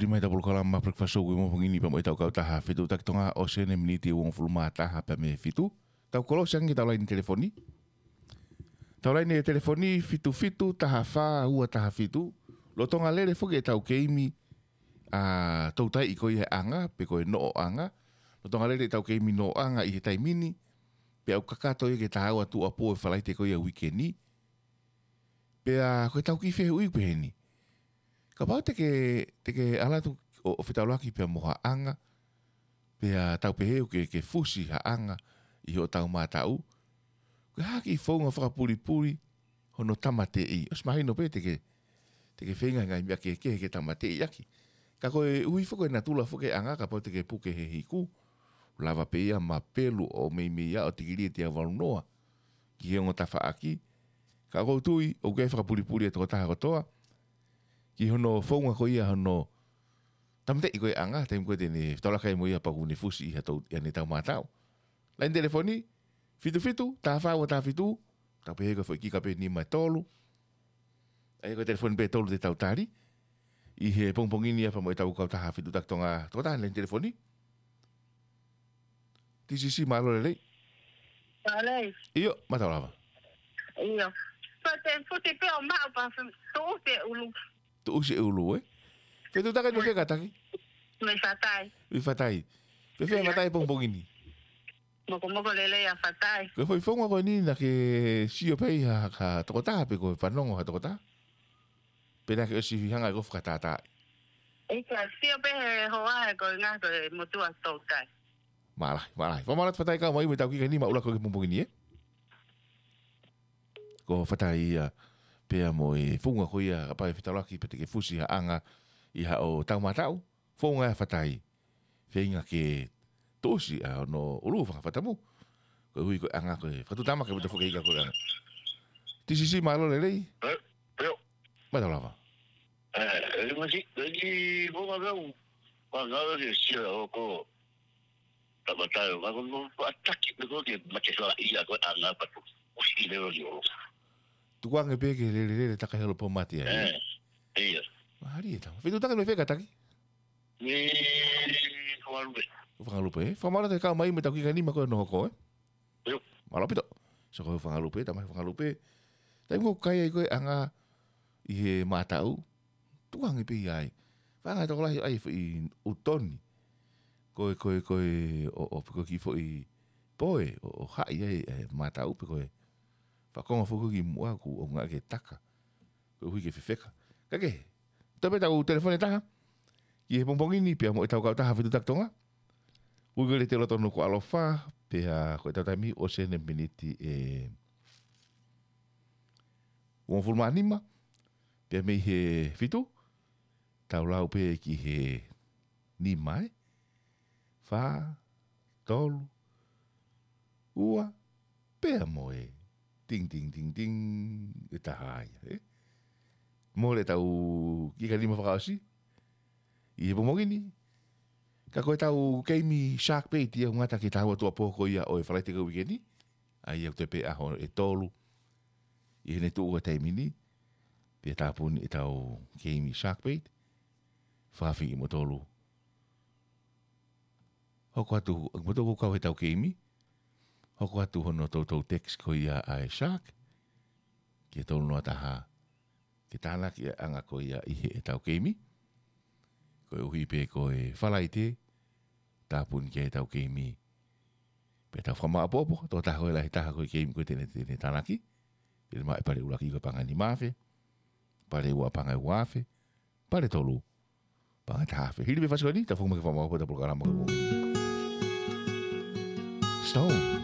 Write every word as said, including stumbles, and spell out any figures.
Lima ʻetau polokalama Breakfast Show ko e pongipongi ni pea mo ʻetau kautaha fetuʻutaki Tonga ʻosi ʻene miniti ʻe uofulu mā taha pea mei he fitu. Tau kolosi ange ʻetau laine telefoni. Tau laine telefoni fitu fitu taha fā ua taha fitu. Lolotonga lele foki ʻetau keimi ʻa e toutai ko ia ʻanga, pe ko e noʻoʻanga. Lolotonga lele ʻetau keimi noʻoʻanga ʻi he taimi ni. Pea ʻoku kakato ia ki he taha ua tuʻuapō ʻo e Falaite ko ia uike ni. Pea ko ʻetau kiʻi fehuʻi pehē ni. Kapau te ke, te ke ʻalu atu ʻo, ʻo fetaulaki pea mo ha ʻanga. Pea tau pehē ʻoku ke, ke fusi ha ʻanga ʻi hoʻo taumātaʻu. Ko e hā e kiʻi founga fakapulipuli hono tāmateʻi. ʻOsi mahino pē te ke, te ke feinga he ngaahi meʻa kehekehe ke tāmateʻi ʻaki. Ka koeʻuhi foki ko e natula foki e ʻanga kapau te ke puke he hiku. Lava pē ia mapelu ʻo meimei ʻo tikilī ʻe teau valu noa ki he ongo tafaʻaki. Ka ʻoku ou tui, ʻoku ʻi ai e fakapulipuli ʻa e tokotaha kotoa. Ki hono founga ko ia hono tāmateʻi ko e ʻanga, taimi ko ē te ne fetaulaki ai mo ia pea ʻoku ne fusi ʻi ha tou, ʻi haʻane taumātaʻu. Laine telefoni, fitu fitu, taha fā ua taha fitu, tau pehē ko e foʻi kika pē nima ʻe tolu. ʻA ia ko e telefoni pē ʻe tolu te tau tali. ʻI he pongipongi ni pea mo ʻetau kautaha fetuʻutaki Tonga, tokotaha laine telefoni. T C C mālō e lelei. Mālō e lelei. ʻIo, mālō lava. ʻIo. Ko e te futi pē ʻo maʻu pea fe-, tuʻusi e ʻulu. Tuʻusi e ʻulu, ē? Fetuʻutaki mo fē kātaki? Mei Fatai. Mei Fatai. Fēfē ʻa Fatai pongipongi ni? Mokomoko lelei ʻa Fatai. Ko e foʻi founga ko eni naʻa ke sio pē ʻi ha, ha tokotaha pe ko e fanongo ha tokotaha? Pe naʻa ke ʻosi hanga ʻo fakatātā? ʻIkai, sio pē he hoa he ko e ngaahi ko e motuʻa toutai. Mālō, mālō. Fakamālō atu Fatai kau mai mo ʻetau kika nima ʻuluaki ʻo e pongipongi ni, ē? Ko Fatai ia pea mo e founga ko ia kapau ʻe fetaulaki pea te ke fusi ha ʻanga ʻi haʻo taumātaʻu. Founga ʻa Fatai. Feinga ke tuʻusi ʻa hono ʻulu fanga fatamu. Koeʻuhi ko e ʻanga ko e fakatuʻutāmaki mo e foki ika ko e ʻanga. T C C mālō e lelei. Ē, ē. Mālō lava. Ē, ē, masi, ē, ki founga kau. Mālō e lelei sio ʻo ko. Tāmateʻi, ma ko ko faʻataki pe ko ke mate fala ia ko e ʻanga patu. Usi leo lio. Tukuange pē ke lele lele taka helo po mate ai. Ē, ia. Mālie ʻetau. Fetuʻutaki mo fē kātaki? Mei Fakalupe. Fakalupe, ē? Fakamālō atu e kau mai mo ʻetau kika nima ko ē hono hoko, ē? ʻIo. Mālō ʻaupito. So ko Fakalupe, tamai Fakalupe. Taimi ko ē ʻoku kai ai ko e ʻanga ʻi he mātaʻu. Tukuange pē ia ai. Fanga tokolahi ai foʻi ʻutoni. Ko e, ko e, ko e, ʻo, ʻo, ko e kiʻi foʻi poe, ʻo, ʻo haʻi ai, ʻe, mātaʻu pe ko e. Fakakonga foki ki muʻa ʻoku ʻaonga ke taka. Koeʻuhi ke fefeka. Ka ke, toe pē ʻetau telefoni ʻe taha. Ki he pongipongi ni pea mo ʻetau kautaha fetuʻutaki Tonga. Uike lelei ʻi loto ʻi Nukuʻalofa, pea ko ʻetau taimi ʻosi ʻene miniti ʻe uofulu mā nima, pea mei he fitu, tau lau pē ki he nima, ē? Fā, tolu, ua, pea mo e ting, ting, ting, ting, ʻe taha ia, ē? Mole ʻetau kika nima fakaʻosi ʻi he pongipongi ni. Ka ko ʻetau keimi Shark Bait ia ʻoku ngata ki he taha ua tuʻuapō ko ia ʻo e Falaite ko e uike ni. ʻA ia ʻoku toe pē ʻaho ʻe tolu ʻi heʻene tuʻu ʻa e taimi ni. Pea tāpuni ʻetau keimi Shark Bait. Fakaafeʻi kimoutolu. Hoko atu, kimoutolu ʻoku kau heʻetau keimi. Hoko atu hono toutou text ko ia ʻa e Shark. Ki he tolu noa taha. Ke tānaki e ʻanga ko ia ʻi heʻetau keimi. Koeʻuhi pē ko e Falaite, tāpuni ki ai ʻetau keimi. Pea tau fakamāʻopoʻopo, tokotaha ko e lahi taha ko e keimi ko ē te ne, te ne tānaki. Te ne maʻu e pale ʻuluaki ko e paʻanga ʻe nima afe. Pale ua paʻanga ʻe ua afe. Pale tolu paʻanga ʻe taha afe. Hili pē fasi ko eni, tau foki mai ke fakamāʻopoʻopo ʻetau polokalama ko e pongipongi ni. Stone.